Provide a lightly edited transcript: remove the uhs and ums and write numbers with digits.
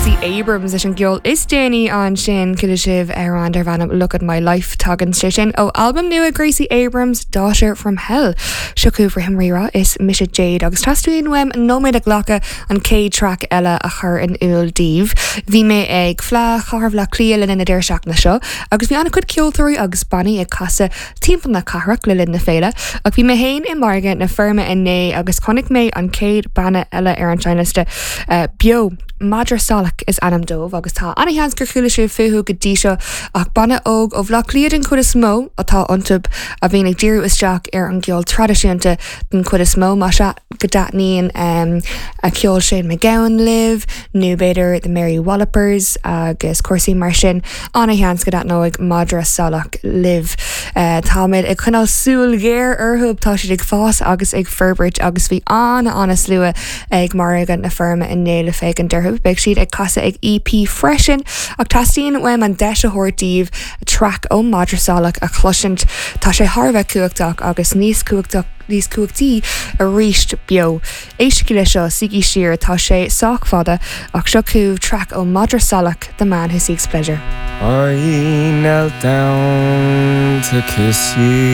Gracie Abrams leis an gceol is déanaí ansin chuala sibh amhrán darb ainm Look at My Life tagann sé sin ó albam nua Gracie Abrams Daughter from Hell. Seo chugaibh Rithim Rírá is mise Jade agus teastaíonn uaim nóiméad a ghlacadh an chéad traic eile a chur in iúl daoibh. Bhí mé ag Fleadh Chathair Bhaile Átha Cliath le linn na deireadh seachtaine seo agus bhí an-chuid ceoltóirí agus bannaí ag casadh timpeall na cathrach le linn na féile, ach bhí mé féin i Margadh na Feirme inné agus chonaic mé an chéad banna eile ar an seinnliosta beo. Madra Salach is ainm dóibh agus tá an-sheans gur chuala sibh fúthu go dtí seo ach banna óg ó Bhaile Átha Cliath den chuid is mó atá iontu a bhíonn ag díriú isteach ar an gceol traidisiúnta den chuid is mó. Más ea go dtaitníonn ceol Shane MacGowan libh nó b'fhéidir The Mary Wallopers agus cúrsaí mar sin, An-sheans go dtaitneoidh Madra Salach libh. Táimid ag coinneáil súil ghéar orthu, tá siad ag fás agus ag forbairt agus bhí an-an-slua ag Margadh na Feirme inné le féachaint orthu. Beidh siad ag casadh ag EP freisin ach teastaíonn uaim an deis a thabhairt daoibh traic ó Madra Salach a chloisint. Tá sé thar a bheith cumhachtach agus níos cumhachtach níos cumhachtaí arís beo. Éistigí leis seo, suígí siar, tá sé sách fada, ach seo chugaibh traic ó Madra Salach, The Man Who Seeks Pleasure. I knelt down to kiss you.